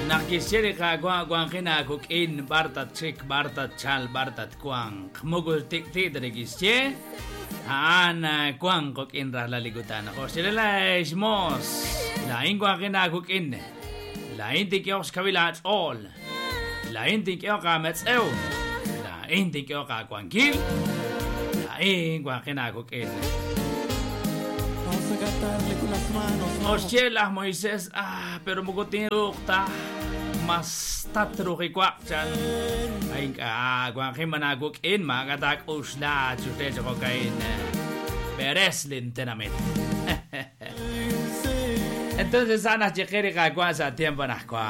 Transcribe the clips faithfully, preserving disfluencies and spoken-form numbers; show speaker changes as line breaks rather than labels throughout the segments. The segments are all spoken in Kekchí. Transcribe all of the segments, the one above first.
Naq kixye li Qaawa' wanqin aakuk'in b'ar tatxik, b'ar tatchal, b'ar tatwanq. Moko tik'ti' ta li kixye, a'an wanq quk'in rajlal li kutan. Jo'xye la xmoos, laa'in wanqin aakuk'in, laa'in tink'ehoq xkawil aach'ool, laa'in tink'ehoq aametz'ew, laa'in tink'ehoq aawankil, laa'in wanqin aakuk'in.
Vamos a cantarle con las manos. Vamos.
Oxye laj Moisés, ah, pero moko tinruuq ta mas tatruqiwaq chan. Ay ink'a' wanqin man aakuk'in maak'a taak'uxla chuxle choqokain. Beres lintenamit. Entonces ana xyeqe li Qaawa' sa' tiempo najwa.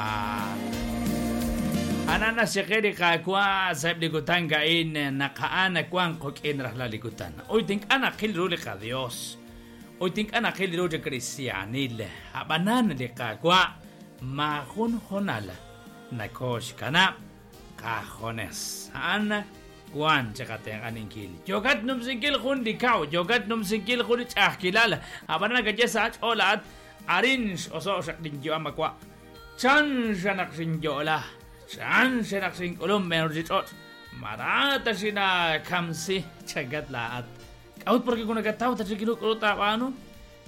Ana naxyeqe li Qaawa' sa'eb' li kutan ka'in naq a'an wanq quk'in rajlal li kutan. Uy tink'a' naqil ru li qaDios. Uy tink'a' naqil ru li kristianil. Ab'anan li Qaawa' maajun honal nakoxkanab' qajones. A'an wan chiqatenq'aninkil. Yokat numsinkil jun li kaw, yokat numsinkil jun li ch'a'ajkilal. Ab'anan nakaye sa' ach'ool a'at arin x'oso' xaq linyu'am awa'. Chan xanaq xinyo'la, chan xanaq xink'ulum menorchich'och'. Marata xina kamsi chagat la'at. K'a'ut porque kunakataw tachikiru k'uru taab'aanu.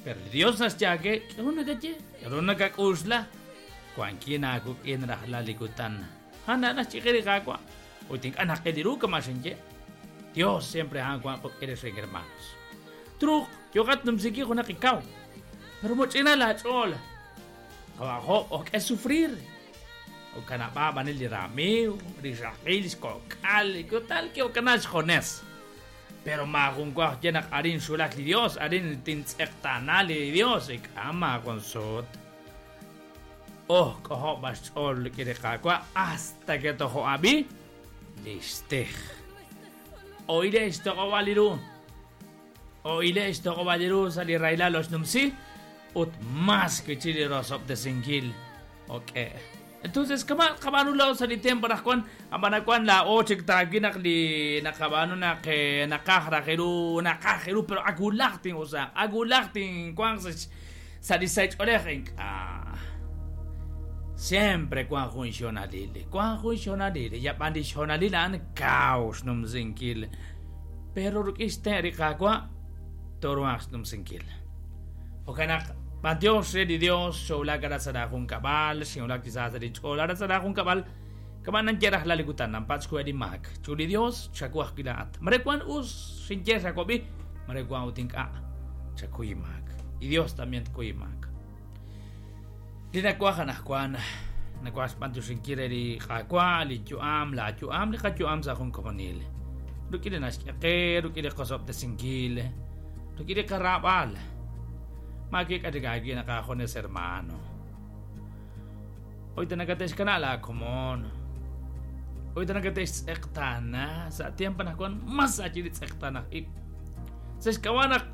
Pero Dios naxyaake, k'aru nakaye, k'aru nakak'uxla. Wankin aakuk'in rajlal li kutan. Ana naxch'iqi li Qaawa'. Ut ink'a' naqil ru kama xinye. Dios siempre a'an wan quk'in rixin hermanos. Truuq yoqat numsinkil junaq ikaw. Pero moch'ina laach'ool. Qawajo ok'e sufrir. O kanab'a b'anil li ramiiw, li xaqil, xkok'al, kutal ke okana xjones. Pero maajun waj ye naq arin xulak li Dios, arin tintz'eqtana li Dios, ik'a maajun sut. Oh, k'ojo b'axch'ool li Qaawa' hasta que tojo ab'i lixtej. Oile xtoq'ob'al ru. Oile xtoq'ob'al ru sa' li raylal oxnumsi ut mas kichi li rosob'tesinkil. Ok. Entonces, kama qab'anu lao sa' li tiempo rajwan, ab'anawan la ochik taakinaq li naqab'anu naq naqaj rajiru, naqaj ru, pero akulajtin, o sea, akulajtin wanq sa' li saych'olej ink'a'. Siempre kwan jun xonalil, kwan jun xonalil, yab'an li xonalil a'an kaw xnumsinkil. Pero ruk'ix te ri Qaawa' toruaq xnumsinkil. Jo'kan naq Dios re li Dios xowlak ara sa' jun kab'al, xinwulak chi sa' li ch'ool ara sa' jun kab'al, kab'an nanye rajlal li kutan, nampatz xwe li maak. Chu li Dios chakuaj kilaat. Mare kwan us xinye xakob'i, mare kwan ut ink'a' chakuy maak. Y Dios también tkuy maak. Li nakuaj anajwan, nakuaj xb'antu xinkil li Qaawa', li yu'am, la yu'am, li qayu'am sa' jun komonil. Ruk'in li naxk'eqe, ruk'in li qosob'tesinkil, ruk'in li qarab'al. Maakik atigagi nakajones hermano. Hoy tanakatexkana la komon. Hoy tanakatex tz'eqtana sa' tiempo najwan mas achili tz'eqtana ib. Sa xkawanak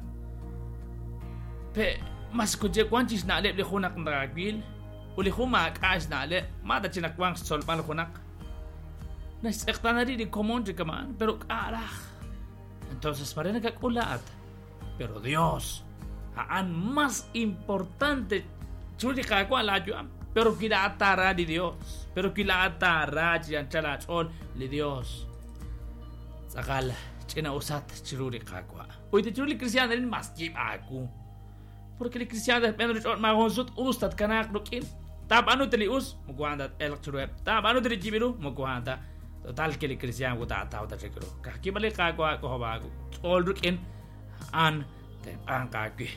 pe mas kuje kwan chix na'leb' li junaq nrakil u li jun maak'a' xna'leb' ma ta chinaq wan xtzolb'al junaq. Naxtz'eqtana ri li komon chikaman pero k'a'raj. Entonces pare nakak'ulaat. Pero Dios a'an más importante chu li Qaawa' la yu'am. Pero kilaatara li Dios. Pero kilaatara chi anchal aach'ool li Dios. Tz'aqal ch'ina usat chiru li Qaawa'. Uy te chiru li cristiano rin mas yib'aaku. Porque li cristiano depende rich'ool maajun sut us tatkanaaq ruk'in. Taab'anu te li us, moko a'an tat-elq chiruheb'. Taab'anu te li yib'iru, moko a'an ta. Total que li cristiano taataw ta chikru. Kajkib'al li Qaawa' k'ojob'aaku. Ch'ool ruk'in a'an tenq'anq aawi.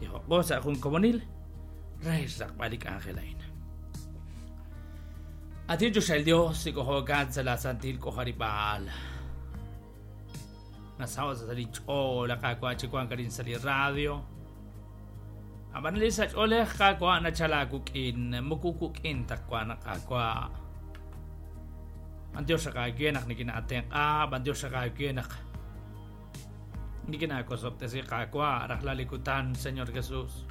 Tijoq'o sa' jun komonil re xraqb'al li k'anjel a'in. Atin chuxel Dios ik'ojokan sa' la santil k'ojarib'aal. Nasawa sa' li ch'ool Qaawa' chi wank arin sa' li radio. Ab'an li sa' ch'oolej Qaawa' nachala kuk'in, moko kuk'in taq wan Qaawa'. An Dios xaqaawe naq nikinaatenq'a, an Dios xaqaawe naq nikinaakosob'tesi Qaawa' rajlal li kutan, Señor Jesús.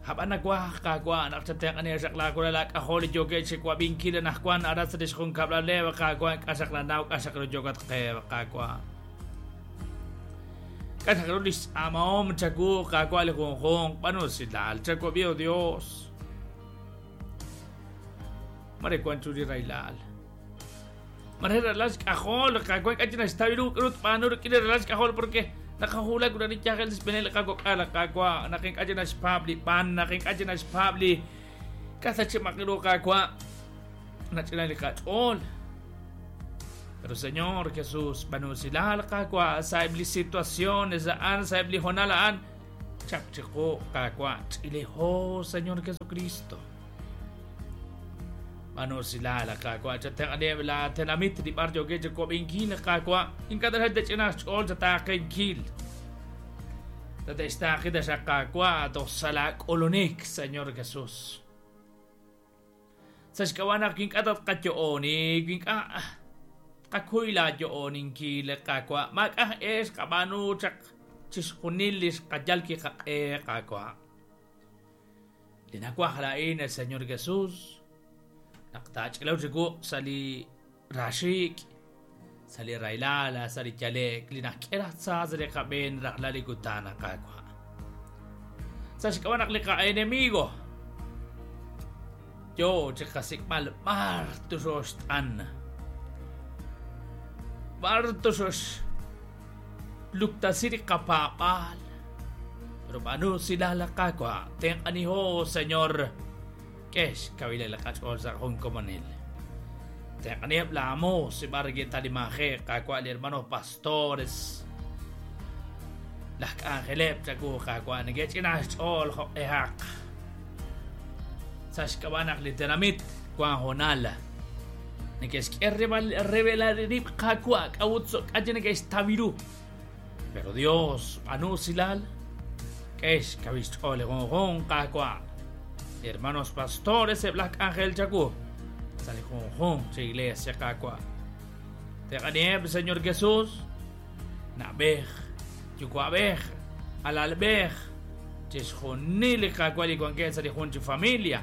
Ab'an nakuaj Qaawa' naq chatenq'ani xaqlaakula laak'ajol li yookeb' chi wab'inkil anajwan aran sa' lix junkab'lal Qaawa' k'a xaqlanaw k'a xaqlu yokat qe Qaawa'. K'a xaqlu lix tz'aamahom chaku Qaawa' li junjunq b'anu silal chakwab'i, oh Dios. Mare wan chu li rahilal. Mare ralal xk'ajol, Qaawa' ink'a' chik naxtaw ru k'aru tb'aanu rik'in li ralal xk'ajol porque naqajulak ut ani yajel xb'een li qakok'al, Qaawa', naq ink'a' chik naxpaab' li b'an, naq ink'a' chik naxpaab' li kasachimaq ru, Qaawa', nach'ila li qach'ool. Pero Señor Jesús, b'aanu usilal, Qaawa', sa'eb' li situaciones a'an, sa'eb' li hoonal a'an, chap chiqu, Qaawa', ch'ilejo, Señor Jesucristo. B'aanu usilal, Qaawa', chatenq'aneb' la tenamit li b'ar yookeb' chikob'inkil, Qaawa', ink'a' taxaq tech'ina xch'ool chataaqenkil. Tate'xtaaqi taxaq, Qaawa', toj sa' la k'ulunik, Señor Jesús. Sa' xk'ab'a' naq ink'a' tatqayo'onik, ink'a' qakuy la yo'oninkil, Qaawa', maak'a' ex qab'aanu chaq chixjunil li xqayal kiqaq'e, Qaawa'. Li nawaj laa'in, el Señor Jesús, naq taach'ilaw chiwu sa' li raxiik, sa' li rahilal, sa' li yale'k, li nak'e raj tza sa' li qab'een rajlal li kutan, Qaawa'. Sa' xk'ab'a' naq li qa'enemigo yo chiqasik'b'al b'ar tuxoxt'an, b'ar tuxox luktasi li qapaab'aal. Pero b'aanu usilal, Qaawa', tenq'aniho, Señor, k'ex kawilal qach'ool sa' jun komonil. Tenq'aniheb' la amos, b'ar getalimaje, Qaawa', li hermanos pastores, laj k'anjeleb' chaku, Qaawa', neke'ch'ina xch'ool jo'q'ehaq. Sa' xk'ab'a' naq li tenamit wan hoonal neke'xk'e revelar rib' Qaawa', k'a'ut k'a' neke'xtaw ru. Pero Dios, b'aanu usilal, k'ex kawil xch'ool li junjunq, Qaawa'. Hermanos pastores, eb' laj k'anjel chaku, sa' li junjunq chi iglesia, Qaawa'. Teq'aniheb', Señor Jesús, na'b'ej, yuwa'b'ej, alalb'ej, chixjunil li Qaawa' li wankeb' sa' li jun chi familia.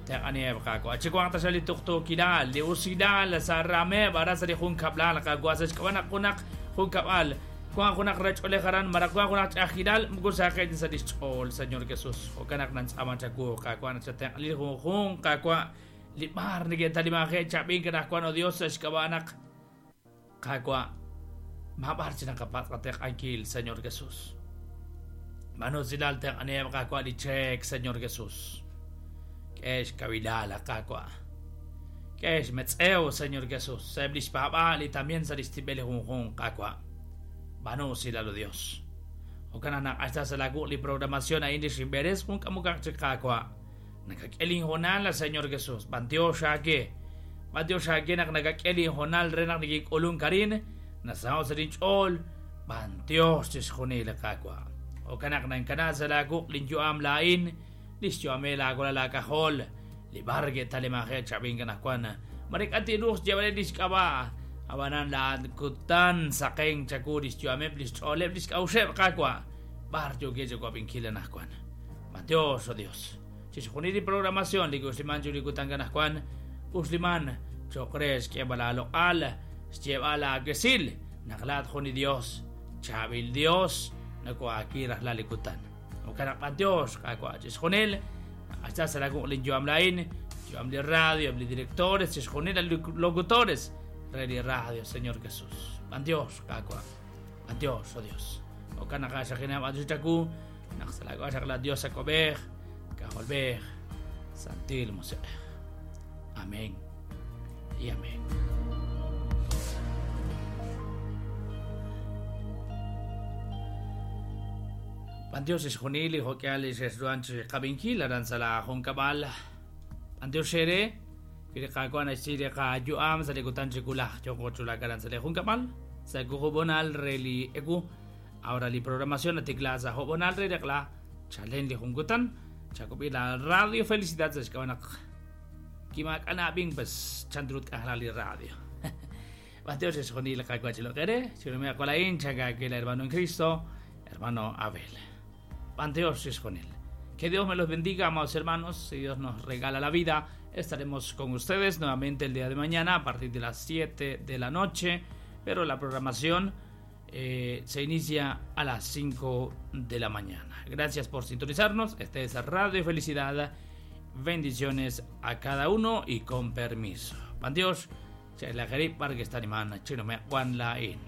Teq'aniheb', Qaawa', chiwanq taxaq li tuqtuukilal, li usilal sa' rameb' aran sa' li jun kab'lal, Qaawa', sa' xk'ab'a' naq junaq jun kab'al, wan junaq rach'oolej aran, maraq wan junaq ch'a'ajkilal, moko saqeb' sa' li xch'ool, Señor Jesús. Jo'kan naq nantz'aaman chawu, Qaawa', naq chatenq'ali li junjunq, Qaawa', li b'ar neke'talimaje' chab'ink anaqwan, oh Dios, sa' xk'ab'a' naq, Qaawa', mab'ar chi naqapatz' qatenq'ankil, Señor Jesús. B'aanu usilal tenq'aniheb', Qaawa', li cheek, Señor Jesús. K'ex kawilal, Qaawa'. K'ex metz'ew, Señor Jesús. Sa'eb' li xpaab'aal y también sa' li xtib'el li junjunq, Qaawa'. B'aanu usilal, oh Dios. Jo'kan naq naq'axta sa' la wuq' li programación a'in li xinb'eres jun k'amukaq chik, Qaawa'. Nakak'e linhoonal, Señor Jesús. B'antiox aake. B'antiox aake naq nakak'e linhoonal re naq nikink'ulunk arin. Nasaho' sa' linch'ool. B'antiox chixjunil, Qaawa'. Jo'kan naq nankana sa' la wuq' linyu'am laa'in, li xyu'amel aawalal aak'ajol, li b'ar ke'talimaje' chab'ink anaqwan. Mare k'a' tiruuq xyeeb'al li xk'ab'a', ab'anan la kutan saqen chaku li xyu'ameb', li xch'ooleb', li xk'a'uxeb', Qaawa', b'ar yookeb' chiwab'inkil anaqwan. B'antiox, oh Dios. Chixjunil li programación li uxliman chu li kutan anaqwan, uxliman cho'q re xk'eeb'al aaloq'al, xyeeb'al aakesil, naq laat jun li Dios, chaab'il Dios, nako'aakil rajlal li kutan. Jo'kan naq b'antiox, Qaawa', chixjunil, hasta sa' la wuq' linyu'am laa'in, yu'am li radio, li directores, chixjunil li locutores re li radio, Señor Jesús. B'antiox, Qaawa'. B'antiox, oh Dios. Jo'kan naq axaqinab' b'antiox chaku, naq sa' la xaq la Dios ak'ob'ej, kajolb'ej, Santil Musiq'ej. Amén y amén. B'antiox xjunil li jo'k'ihal li xexruhan chi qab'inkil aran sa' la junkab'al. B'antiox xere, wi li Qaawa' naxsi li qayu'am sa' li kutan chi kulaj yooqo chulak aran sa' li junkab'al, sa' kujub'onal re li ewu. Ahora li programación natikla sa' job'onal re reqla chalen li jun kutan, chakub'i la Radio Felicidad sa' xk'ab'a' naq kimaak'anab'in pues chandrut k'ajlal li radio. B'antiox xjunil li Qaawa' chiloq'ere, chirumea qolain chakakil hermano en Cristo, hermano Abel. B'antiox xjunil. Que Dios me los bendiga, amados hermanos. Si Dios nos regala la vida, estaremos con ustedes nuevamente el día de mañana a partir de las siete de la noche, pero la programación eh, se inicia a las cinco de la mañana. Gracias por sintonizarnos. Este es Radio Felicidad Bendiciones a cada uno y con permiso. Pan Dios, se la para que está animando, chino me Juan Laín.